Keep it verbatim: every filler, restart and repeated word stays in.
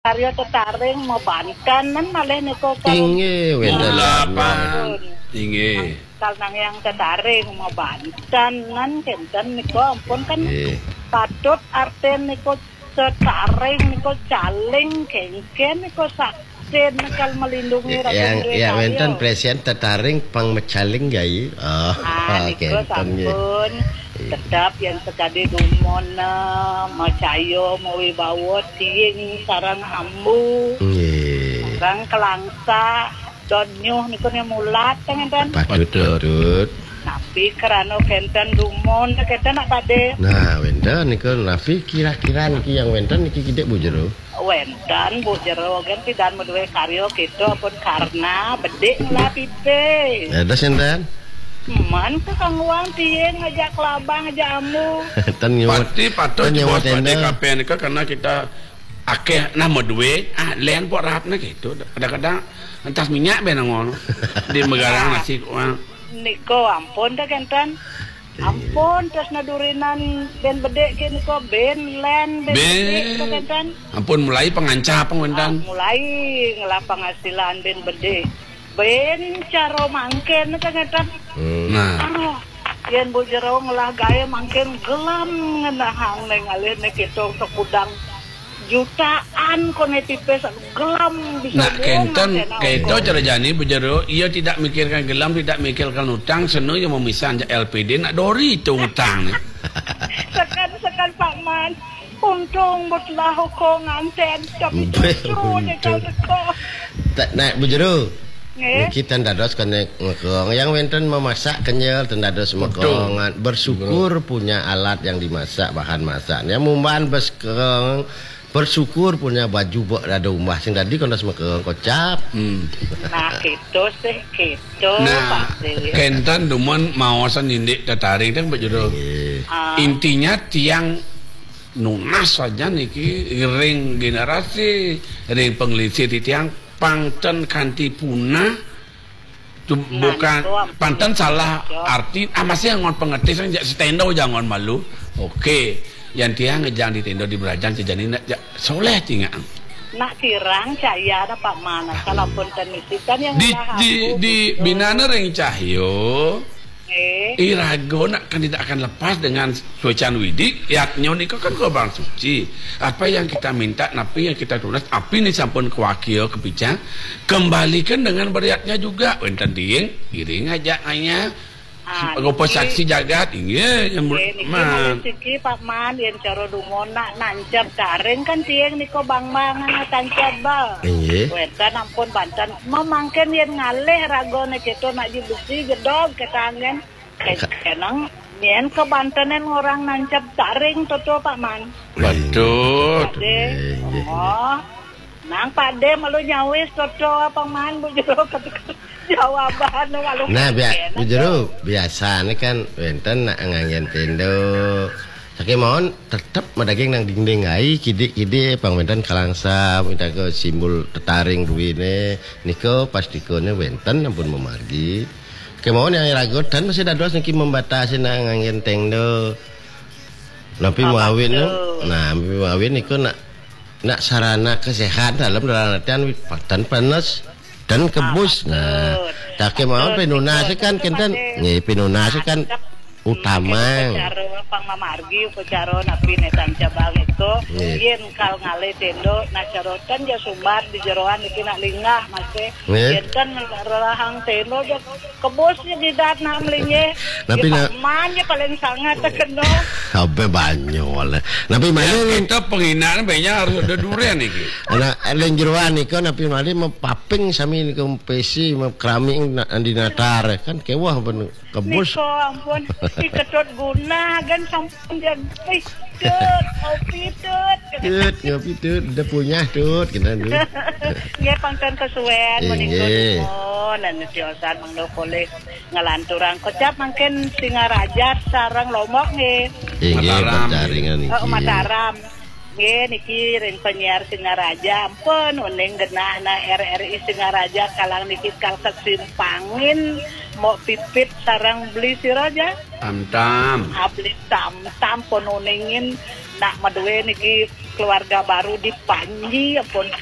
karya tetaring mabanten nan malih nika, kal- Inggih, wénten. Mula, Pak. Inggih. Kal nang yang tetaring mabanten nan kénten nika ampun kan. Nggih. Patut artin nika tetaring nika caling kéngkén nika saksin kal melindungi. Ya, raga yang, duwe ya, karya. Wénten presén tetaring pang mecaling, Gai. Oh, ah, nika kénten, nggih. Sampun. Iya. Tetep yang sekadi dumun, eh, macaya, mawibawa, tiing sareng ambu. Nggih. Sareng kelangsa, don nyuh niku ne mulat, kan, enten? Patut, patut. Tapi krana kenten dumun, kenten nak pade. Nah, wenten niku napi kira-kira niki yang wenten niki kidik, Bu Jero? Wenten, Bu Jero, kan pidan madué karya kita pun karna bedik ngelah pipe. Dados enten? Man ke kangguang tiing ngajak kelabang, ngajak ambu. Ten nyuwun. Pati patut ten nyuwun bos pade tenda. Kape nika karena kita akeh nah madué, ah, len pok rahapna gitu. Kadang-kadang entas minyak ben ngono. Di megarang nasi, wah. Niko ampun dah kenten. Iya. Ampun, terus nadurinan ben bedik ke niko, ben len, ben bedik ke kenten. Ampun, mulai pengancap pengwentan. Ah, mulai ngelah penghasilan ben bedik. Ben cara mangkin ke kenten. Hmm. Nah. Aduh, yen Bu Jero ngelah gaé mangkin gelam ngenahang neng alih ne kita sekudang jutaan koné tipis gelam bisa. Nak kenten, kento cara jani Bu Jero, ia tidak mikirkan gelam, tidak mikirkan utang, seno ia memisah anjak L P D, nak dori itu utang ne. Sekan-sekan Pak Man, untung butlah hukum nganten, tapi justru ne kau teko. Tak nak Bu Jero. Nggih. Niki ten dados kene ngekong. Yang wenten memasak kenyel ten dados mekongan. Bersyukur punya alat yang dimasak, bahan masaknya. Mumban beskeng, bersyukur punya baju bok dada umbah sing dadi kon dados mekeng kocap. Hmm. Nah, gitu sih, gitu. Nah, pasti. Kenten dumun maosan indik tetaring ten, Pak Jero. Nggih. Ah. Intinya tiang nunas saja niki ring generasi, ring pengelisih titiang pang ten kanti punah. Tu bukan, pang ten salah arti, ah, masih angon pengerti, sang jak setendo jangan malu. Oke, yang tiang ngejang di tendo di berajang sejani nak jak soleh tingaan. Nak kirang cahya ada Pak Man, kalau pun ten misikan yang di, di, di binana ring cahyo. Nggih. Irago nak kan tidak akan lepas dengan suecan Widi, yatnyo niko kan korban suci. Apa yang kita minta, napi yang kita tunas, api ni sampun kawakia kapica, kembalikan dengan beriatnya juga. Wenten tiing, iring aja hanya. Ah, rupa niki saksi jagat, inggih, yang nggih, niki man. Malih siki, Pak Man, yen cara dumun nak nancep taring kan tiing niko bang-bang tancep ba. Inggih. Wenten ampun banten, memangken yen ngalih ragone kita nak ji besi jedog ketangen. Ka- Kenang, nyen ke bantenen orang nancep taring toto, Pak Man. Betul. Pade. Nggih, nggih, nggih. Oh. Nang pade malu nyawis toto, Pak Man, Bu Jero ketika jawaban malu. Nah, bia-, kenang Bu Jero, biasane kan wenten nak nganggen tendo. Saking mawon tetep madaging nang dinding ai, kidik-kidik pang wenten kalangsam, minta ke simbol tetaring ruine, nika pastikone wenten ampun memargi. Kemawon yang ragotan masih dados niki membatasi nak nganggen tendo. Napi mawin, nah, napi mawin niku nak, nak sarana kesehatan dalam, dalam artian wit-, tan panas dan kebus. Nah, tak kemawon pinunase kan kenten, nggih, pinunase kan utama. Upacara pang mamargi, upacara napi netan cabang itu, nggih. Yen kal ngalih tendo, nah, carotan ya sumbar di jeroan iki nak linggah masih. Nggih. Yen kan rerahang tendo ya kebusnya di dat nak melinggih. Napi ya, nak Pak Man ya paling sangat terkena. Sampai banyak lah. Napi mana ni? Kita penghinaan banyak harus ada durian iki. Anak len jeroan nika napi malih mapaping sami nika pesi, makeramik nak andi natar kan kewah pun. Kebus. Niko ampun, si Ketut Guna kan sampun dia, "Ih, Tut, ngopi, Tut." Tut, ngopi, Tut. Udah punyah, Tut, kita, Tut. Nggih, pangken kesuwen, inggih, menika nuwun, anu tiosan mangda polih ngelanturang kocap mangkin Singaraja sareng Lombok nggih. Inggih, Mataram. Berjaringan niki. Oh, Mataram. Nggih, niki ring penyiar Singaraja, ampun, uning genah nah R R I Singaraja, kalang niki kal kesimpangin, mok pipit sareng beli sira ja. Tam-tam. Ah, beli tam-tam pun uningin, nak madue niki keluarga baru di Panji, ampun,